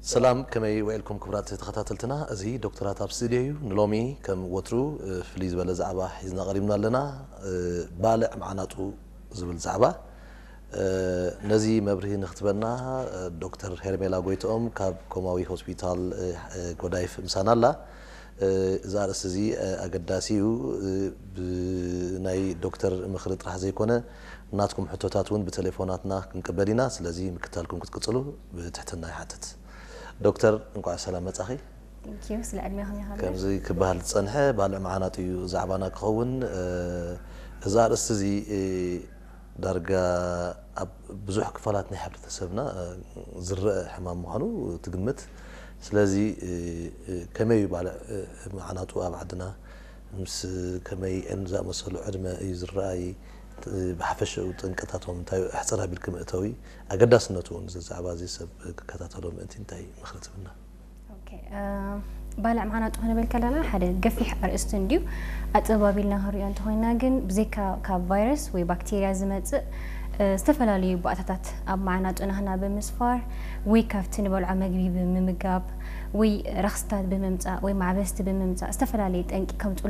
ሰላም፣ ከመይ ውዒልኩም ክቡራት ተኸታተልትና? እዚ ዶክተራት ኣብ ስቱድዮ እዩ። ንሎሚ ከም ወትሩ ፍልይ ዝበለ ዛዕባ ሒዝና ቀሪብና ኣለና። ባልዕ መዓናጡ ዝብል ዛዕባ። ነዚ መብርሂ ንክትበና ዶክተር ሄርሜላ ጎይትኦም ካብ ኮማዊ ሆስፒታል ጎዳይፍ ምሳና ኣላ። እዚ ኣርእስቲ እዚ ኣገዳሲ እዩ። ብናይ ዶክተር ምኽሪ ጥራሕ ዘይኮነ ናትኩም ሕቶታት እውን ብቴሌፎናትና ክንቅበል ኢና። ስለዚ ምክታልኩም ክትቅጽሉ ብትሕትና ይሓትት። ዶክተር፣ እንኳዕ ሰላም መጻኺ። Thank you ስለ ዕድሜኹም ይሃብና። ከምዚ ክበሃል ዝጸንሐ ባልዕ መዓናጡ እዩ ዛዕባና ክኸውን። እዚ ኣርእስቲ እዚ ዳርጋ ኣብ ብዙሕ ክፋላት ናይ ሕብረተሰብና ዝረአ ሕማም ምዃኑ ትግምት። ስለዚ ከመይ እዩ ባልዕ መዓናጡ ኣብ ዓድና ምስ ከመይ ዝኣመሰሉ ዕድመ እዩ ዝረኣይ? ብሓፈሽኡ ጠንቅታቶም እንታይ እዩ? ኣሕጽር ኣቢልኪ መእተዊ ኣገዳስነቱ እውን እዚ ዛዕባ እዚ ሰብ ክከታተሎ ምእንቲ እንታይ ምኽሪ ትብልና? ኦኬ፣ ባልዕ መዓናጡ ክንብል ከለና ሓደ ገፊሕ ኣርእስቲ እንድዩ። ኣጸባብ ኢልና ክንሪኦ እንተኾይና ግን ብዘይካ ካብ ቫይረስ ወይ ባክቴርያ ዝመጽእ ዝተፈላለዩ ባእታታት ኣብ መዓናጡ ናህና ብምስፋር ወይ ካብቲ ንበልዖ መግቢ ብምምጋብ ወይ ረኽስታት ብምምጻእ ወይ ማዕበስቲ ብምምጻእ ዝተፈላለየ ጠንቂ ከምጽኡልና